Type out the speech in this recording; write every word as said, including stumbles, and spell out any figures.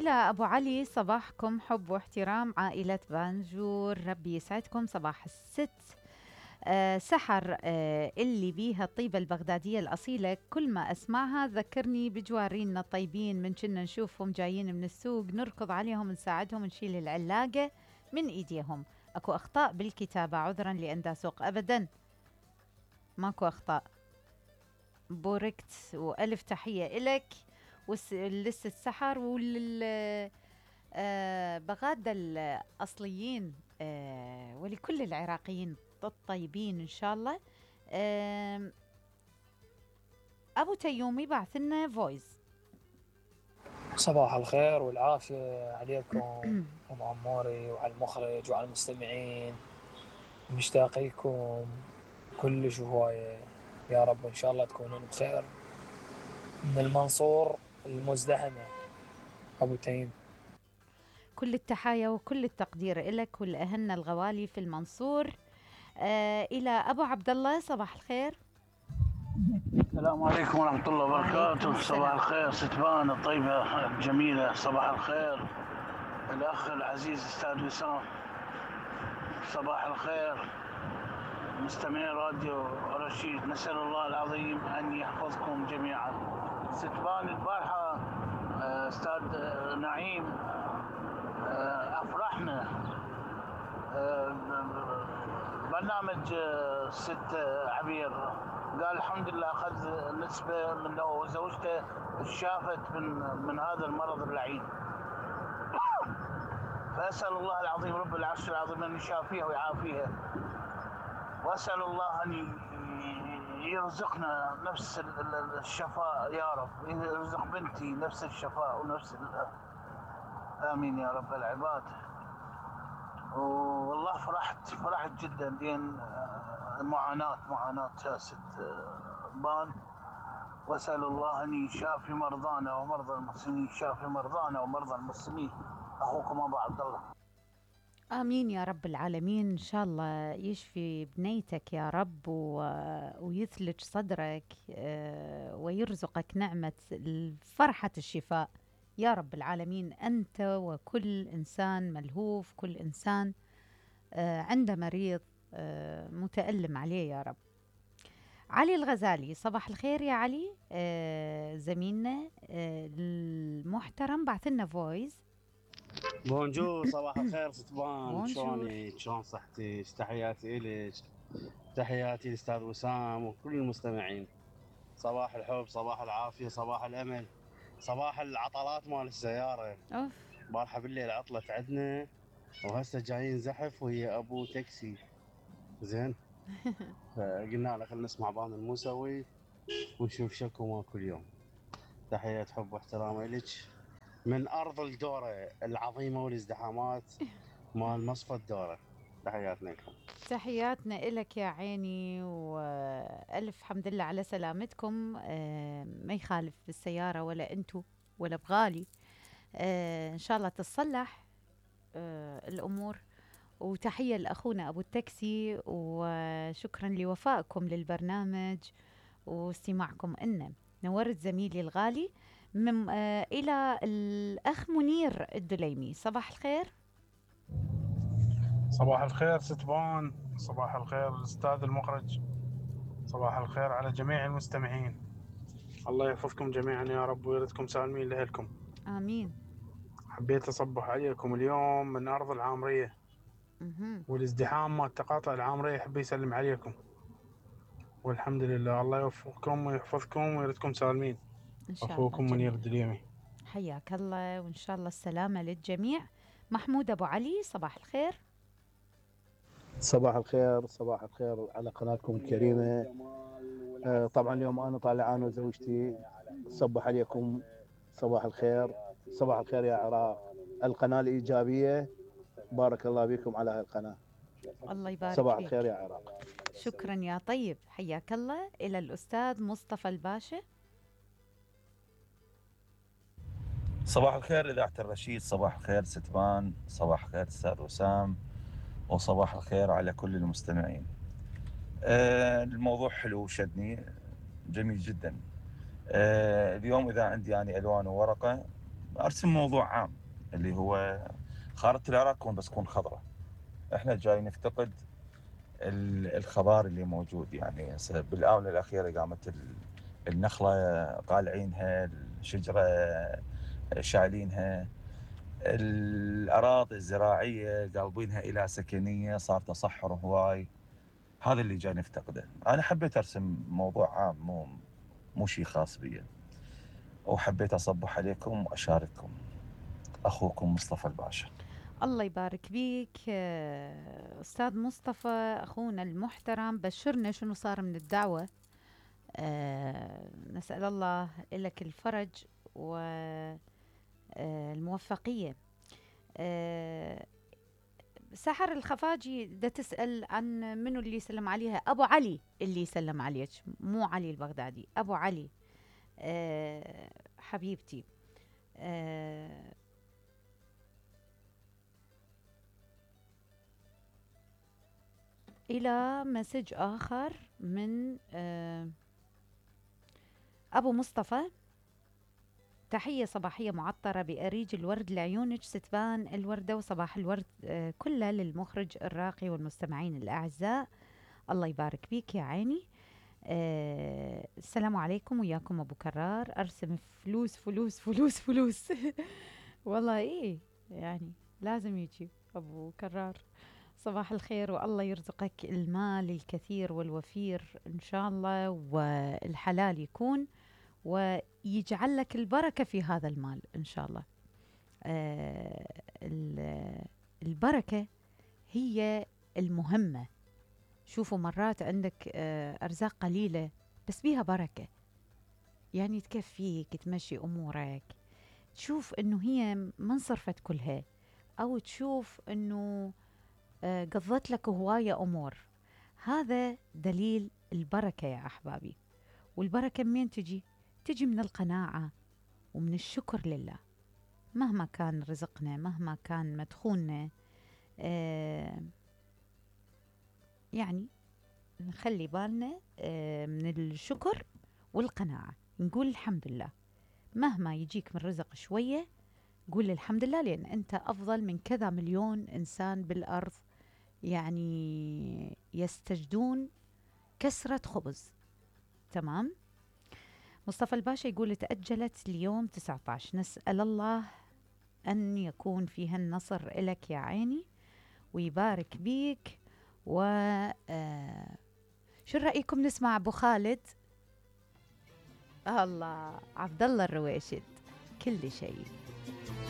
إلى أبو علي. صباحكم حب واحترام عائلة بانجور، ربي يسعدكم. صباح الست آه سحر آه اللي بيها الطيبة البغدادية الأصيلة، كل ما أسمعها ذكرني بجوارينا الطيبين، من كنا نشوفهم جايين من السوق نركض عليهم نساعدهم نشيل العلاقة من إيديهم. أكو أخطاء بالكتابة، عذرا لأن سوق أبدا ماكو أخطاء. بوركت وألف تحية إلك ولسه السحر ولل آه بغادة الأصليين آه ولكل العراقيين الطيبين إن شاء الله. آه أبو تيومي بعث لنا فويس. صباح الخير والعافية عليكم أم عموري وعلى المخرج وعلى المستمعين، مشتاق لكم كلش هواية، يا رب إن شاء الله تكونون بخير. من المنصور المزدحمة أبو تيم. كل التحايا وكل التقدير لك والأهلنا الغوالي في المنصور. آه إلى أبو عبد الله. صباح الخير. السلام عليكم ورحمة الله وبركاته. صباح الخير ستبان الطيبة الجميلة. صباح الخير الأخ العزيز أستاذ وسام. صباح الخير مستمعي راديو رشيد، نسأل الله العظيم أن يحفظكم جميعا. ستبان البارحة أستاذ نعيم أفرحنا برنامج ست عبير، قال الحمد لله أخذ نسبة من لو زوجته شافت من من هذا المرض اللعين. فأسأل الله العظيم رب العرش العظيم أن يشافيها ويعافيها، وأسأل الله أن يرزقنا نفس الشفاء يا رب، يرزق بنتي نفس الشفاء ونفس آمين يا رب العباد. والله فرحت فرحت جدا لأن معاناة معاناة ست بان، وأسأل الله أن يشافي مرضانا ومرضى المسلمين، يشافي مرضانا ومرضى المسلمين. أخوكم أبو عبد الله. آمين يا رب العالمين. إن شاء الله يشفي بنيتك يا رب و... ويثلج صدرك ويرزقك نعمة فرحة الشفاء يا رب العالمين، أنت وكل إنسان ملهوف، كل إنسان عنده مريض متألم عليه يا رب. علي الغزالي. صباح الخير يا علي. زميلنا المحترم بعث لنا فويس. بونجور. صباح الخير ستبان، شلونك؟ شلون صحتك؟ تحياتي إلك، تحياتي للأستاذ وسام وكل المستمعين. صباح الحب، صباح العافية، صباح الأمل، صباح العطلات مال السيارة. أوف. بارحة بالليل عطلت عندنا وهسه جايين زحف وهي أبو تاكسي زين. فقلنا له خلينا نسمع بان الموسوي ونشوف شكو ما كل يوم. تحية حب واحترام إلك من أرض الدورة العظيمة والازدحامات مال مصفى الدورة. تحياتنا لكم. تحياتنا إلك يا عيني، وألف حمد لله على سلامتكم. ما يخالف بالسيارة ولا أنتو ولا بغالي. إن شاء الله تتصلح الأمور. وتحية لأخونا أبو التاكسي، وشكرا لوفائكم للبرنامج واستماعكم إنه. نورت زميلي الغالي. من آه إلى الأخ منير الدليمي. صباح الخير. صباح الخير ستبان، صباح الخير الأستاذ المخرج، صباح الخير على جميع المستمعين. الله يحفظكم جميعا يا رب ويردكم سالمين لأهلكم. آمين. حبيت أصبح عليكم اليوم من أرض العامرية والازدحام مال تقاطع العامرية، حبي يسلم عليكم والحمد لله. الله يوفقكم ويحفظكم ويردكم سالمين. إن شاء أخوكم الله منير الدليمي. حياك الله، وإن شاء الله السلامة للجميع. محمود أبو علي. صباح الخير. صباح الخير، صباح الخير على قناتكم الكريمة. آه طبعا اليوم أنا طالع أنا وزوجتي صبح عليكم. صباح الخير، صباح الخير يا عراق، القناة الإيجابية. بارك الله بكم على هالقناة. الله يبارك صباح فيك. الخير يا عراق. شكرا يا طيب، حياك الله. إلى الأستاذ مصطفى الباشا. صباح الخير إذاعة الرشيد، صباح الخير ستبان، صباح الخير أستاذ وسام، وصباح الخير على كل المستمعين. آه الموضوع حلو وشدني، جميل جدا. آه اليوم إذا عندي يعني ألوان وورقة ارسم موضوع عام اللي هو خارطة العراق تكون بس تكون خضراء. احنا جاي نفتقد الخضار اللي موجود، يعني بالاونه الاخيره قامت النخله قالعينها، الشجره شايلينها، الاراضي الزراعيه قلبينها الى سكنيه، صار تصحر هواي. هذا اللي جاي نفتقده. انا حبيت ارسم موضوع عام مو مو شيء خاص بي، وحبيت اصبح عليكم واشارككم. اخوكم مصطفى الباشا. الله يبارك بيك أستاذ مصطفى أخونا المحترم. بشرنا شنو صار من الدعوة. أه نسأل الله لك الفرج والموفقية. أه سحر الخفاجي دا تسأل عن منو اللي سلم عليها. أبو علي اللي سلم عليك، مو علي البغدادي، أبو علي. أه حبيبتي. أه إلى مسج آخر من أبو مصطفى. تحية صباحية معطرة بأريج الورد لعيونك ستبان الوردة، وصباح الورد كله للمخرج الراقي والمستمعين الأعزاء. الله يبارك بيك يا عيني. السلام عليكم، وياكم أبو كرار. أرسم فلوس فلوس فلوس فلوس والله إيه يعني لازم يجي أبو كرار. صباح الخير، والله يرزقك المال الكثير والوفير إن شاء الله، والحلال يكون، ويجعل لك البركة في هذا المال إن شاء الله. آه البركة هي المهمة. شوفوا مرات عندك آه أرزاق قليلة بس بيها بركة، يعني تكفيك تمشي أمورك، تشوف إنه هي ما انصرفت كلها، أو تشوف إنه آه قضت لك هواية أمور. هذا دليل البركة يا أحبابي. والبركة منين تجي؟ تجي من القناعة ومن الشكر لله. مهما كان رزقنا، مهما كان مدخولنا، آه يعني نخلي بالنا آه من الشكر والقناعة. نقول الحمد لله. مهما يجيك من رزق شوية قول الحمد لله، لأن أنت أفضل من كذا مليون إنسان بالأرض يعني يستجدون كسرة خبز. تمام. مصطفى الباشا يقول تأجلت اليوم تسعة عشر. نسأل الله أن يكون فيها النصر إلك يا عيني ويبارك بيك. و آه شو رأيكم نسمع أبو خالد؟ الله، عبد الله الرويشد، كل شيء.